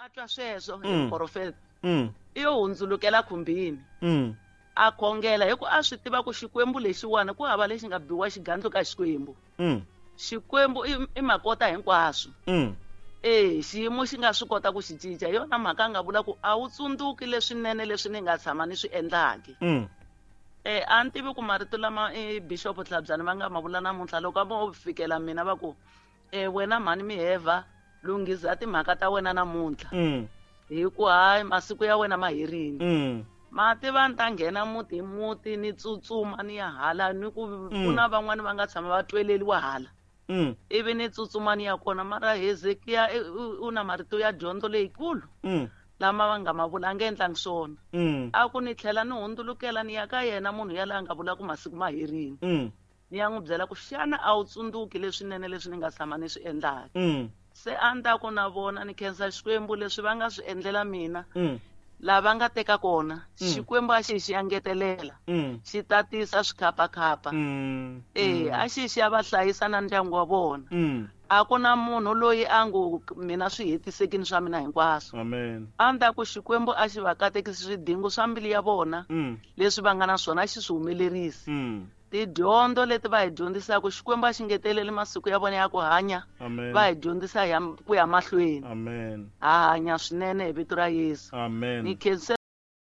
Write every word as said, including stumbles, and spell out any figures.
a twa sweswo hi Mm. muprofeta Mm. i yo hundzulukela khumbini Mm. a khongela hi ku a swi tiva ku Xikwembu lexiwani ku hava lexi nga biwa xigandlo ka Xikwembu. Mm. Xikwembu i, i makota hinkwaswo. Mm. Eh, xiyimo xi nga swi kota ku xi cinca. Hi yona mhaka a nga vula ku a wu tsundzuki leswinene leswi ni nga tshama ni swi endlaki. Mm. Eh, a ni tivi ku marito lama i Bishop Tlhabyana va nga ma vula namuntlha loko a vo fikela mina va ku, eh, wena mhani Miheva, lunghisa timhaka ta wena namuntlha. Mm. Hi ku hayi masiku ya wena ma herile. Mm. Ma tiva ni ta nghena muti hi muti ni tsutsuma ni ya hala ni ku Mm. ku na van'wani va nga tshama va tweleliwa hala. Mm. Ivi ni tsutsuma ni ya kona mara Hezekiya i, u, u na marito ya dyondzo leyikulu Mm. lama va nga ma vula a nge endlangi swona. Mm. A ku ni tlhela ni hundzulukela ni ya ka yena munhu yaloye a nga vula ku masiku ma herile. Mm. Ni ya n'wi byela ku xana a wu tsundzuki leswinene leswi ni nga tshama ni swi endlaka. Mm. Se a ni ta ku na vona ni khensa Xikwembu leswi va nga swi endlela mina. Mm. Lava nga teka kona, Mm. Xikwembu a xi xi engetelela. Mm. Xi tatisa swikhapakhapa. Mm. Eh, Mm. a xi xi ya va hlayisa na ndyangu wa vona. Mm. A ku na munhu loyi a ngo mina swi hetisekini swa mina hinkwaswo. Amen. A ni ta ku Xikwembu a xi va katekisi swidingo swa mbilu ya vona, Mm. leswi va nga na swona a xi swi humelerisi. Mm. Tidyondzo leti va hi dyondzisaka, Xikwembu a xi ngeteleli masiku ya vona ya ku hanya. Amen. Va hi dyondzisa hi ya, ku ya mahlweni. Amen. Ha hanya swinene hi vito ra Yesu. Amen. Ni khense